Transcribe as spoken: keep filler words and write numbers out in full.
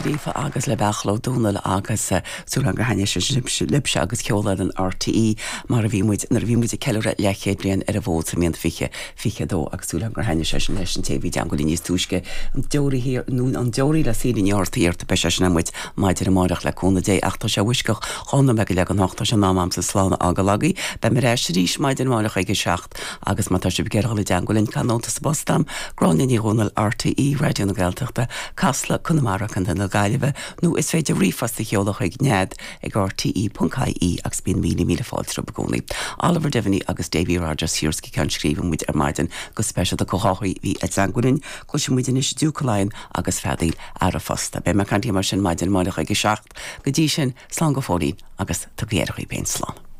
Gríofa agus le Beachla Dúnal agus eh, súil gur thaitin sé libhse agus ceol RTÉ mar a bhí muid nuair a bhí muid ag ceiliúradh leathchéad bliain ar an bhfód sa mbliain fiche fiche dó agus súil gur thaitin sé sin leis an té bhí deangoí níos túisce an deoraí thiar nó an deoraí le sí ortaíart be sé sin muid maidir amárach le cúnamh Dé ach tá sé uisceach chona me go le an hochtá an ná sa slána aga lagaí, Be mar éis arís maidin amárach ag a seacht agus má tá sibh ag iarraidh dul i dteagmháil linn nóta sa bpost dom, Gráinne Ní Dhomhnaill RTÉ Raidió na Gaeltachta, Casla Conamara Contae na Gaillimhe nó is féidir ríomhphost a sheoladh chuig nead ag RTE.ie agus bíonn míle míle fáilte romhaibh i gcónaí. Oliver Devaney agus Davy Rogers thiar go ceann scríbe muid ar maidin go speisialta go háirithe bhí ag teagmháil linn, cloisfidh muid anois Duke agus feadaíl ara fosta. Beidh mé caint mar sin maidin amárach ag a seacht go dtí sin slán go fóillín agus tugaigí aire daoibh féin slán.